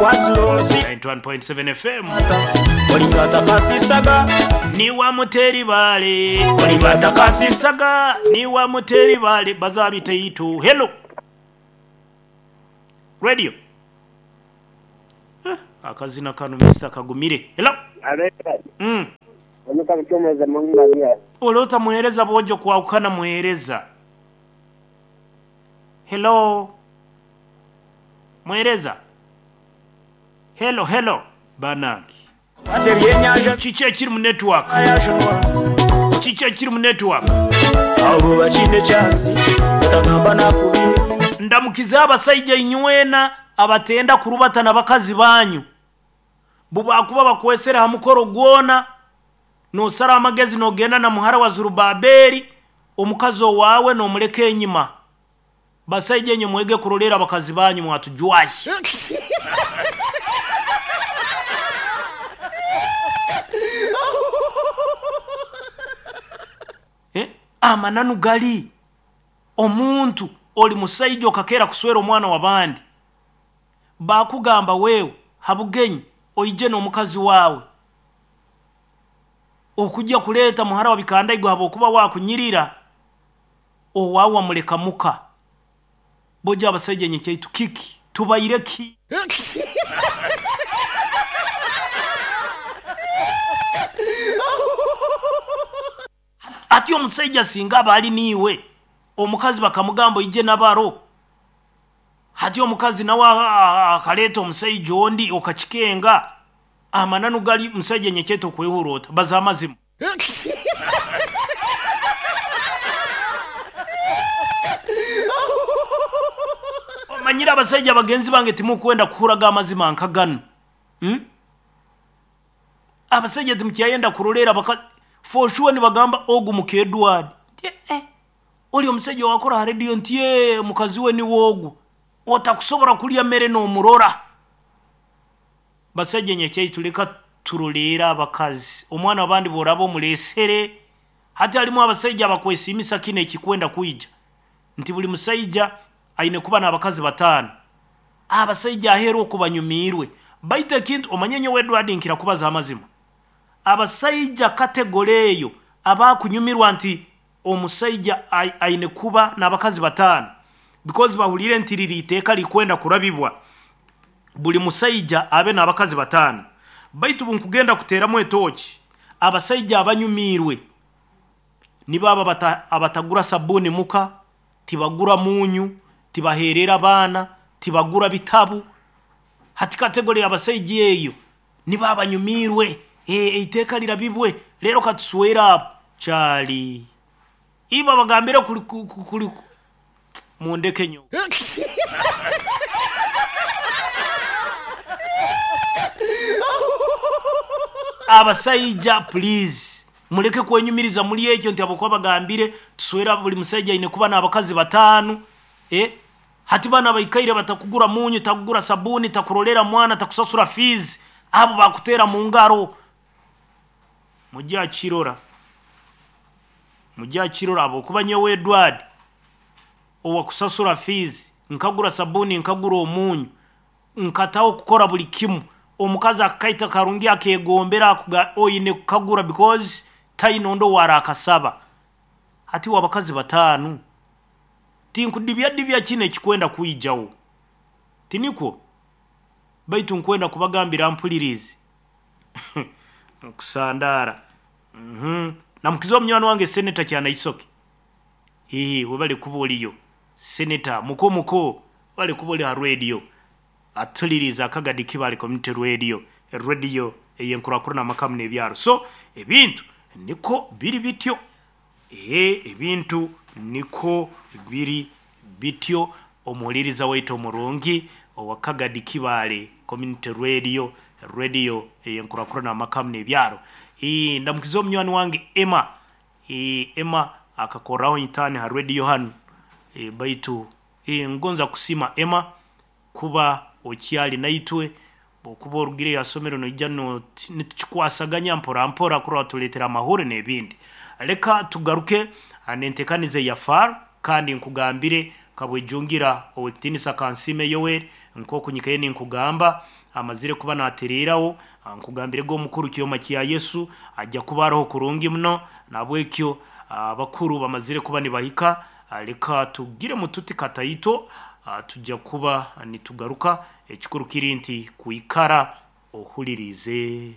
91.7 FM. Niwa muteri bale saga niwa muteri bale bazabiteitu. Hello radio. Akazina kano Mr. Kagumire. Hello. Olota muhereza bojo kwawukana muhereza. Hello. Muhereza. Hello hello banange. Kiki ekiri mu network? Kiki ekiri mu network? Ndamukiza abasaija inywena abatenda kurubata n'abakazi banyu. Bubakuba bakwesera ha mukoro gwona nosara amagezi nogenda na muhara wa Zurubabeli omukazi owawe nomuleka enyima. Basaija enye mwege kurolera abakazi banyu mwatujwahi. Amananu gali omuntu oli musaija okakera kuswera omwana wabandi bakugamba wewe habugenyi oije n'omukazi wawe okujja kuleta muhara wa bikandaigo habokuba wakunyirira owawa muleka muka. Boja abasaija nye kyaitu kiki tubaire ki? Ati omusajja singa abali niwe omukazi bakamugamba ije nabaro, hati omukazi nawe akaleta omusajja ondi okakikenga. Amananu gali musajja nyeketo kwehurota baza amazima. Omanyira abasajja bagenzi bange timukwenda kuhuraga amazima nkagano. Abasajja timukyayenda kurolera baka for sure ni bagamba ogu muke Edward. Oli omusajja wakora ha radio nti mukazi we ni wogu. Otakusobora kulya mere no murora. Basajja nyekyaitu leka turolera abakazi. Omwana abandi borabo mulesere. Hati alimu abasajja abakwesimisa kine ekikwenda kuija. Nti buli musajja aine kuba n'abakazi batano. Abasajja ahera okubanyumirwe. Baita kintu omanyenye we Edward nkira kubaza amazima. Abasajja kategore eyo abakunyumirwa nti omusajja aine kuba n'abakazi batano because bahulire nti riri iteka likwenda kurabibwa buli musajja abe n'abakazi batano. Baitu bunkugenda kuteramu etoki abasajja abanyumirwe nibaba abatagura sabuni muka, tibagura munyu, tibaherera abana, tibagura bitabu. Hati kategore abasajja eyo nibaba nyumirwe iteka lirabibwe lero katuswera chali iba bagambira kuli mundeke nyo. Abasajja please muleke kwenyumiriza muli ekyo nti abokuba bagambire tuswera buli musajja ine kuba n'abakazi batano. Hati bana baikaire batakugura munyu, takugura sabuni, takurolera mwana, takusasura fees, abo bakutera mu ngaro. Mujja kirora. Mujja kirora abo kuba nyewe Edward owa kusasura fees, nkagura sabuni, nkagura omunyu, nkataho kukora buli kimu. Omukazi akaita karungi akegombera akuga oyine kukagura because tainondo wara akasaba. Hati wabakazi batano. Tinkudibya dibya kine kikwenda kuijawo. Tiniko baitu nkwenda kubagambira mpulirizi. Kusandara. Na mkizo mnywani wange senator kyana isoke. Webale kuba oliyo. Senator muko muko wale kuba oli ha radio. Atuliriza akagadi kibali community radio. Radio eyenkurakuru na makamu n'ebyaro. So ebintu niko biri bityo. Ebintu niko biri bityo. Omuliriza waitu omurungi owakagadi kibale community radio, radio eyenkurakuru na makamu n'ebyaro. Ndamukizo mnywani wange Emma. Emma akakoraho intani ha radio hanu. Baitu ngonza kusima Emma kuba okyali naitwe okuba orugire yasomero noija no nitukikwasaganya mpora mpora kurwa tuletera amahoro n'ebindi. Leka tugaruke anentekanize ya far kandi nkugambire kabwejungira owekitinisa Kansime Yoweri nkokunyikaye ninkugamba Amazire kuba natereerawo. Nkugambirege omukuru Kyoma kya Yesu ajja kuba aroho kurungi muno. Nabwekyo abakuru bamazire kuba nibahika. Leka tugiremu tuti kataito, tujja kuba nitugaruka. Ekikuru kiri nti kwikara ohulirize.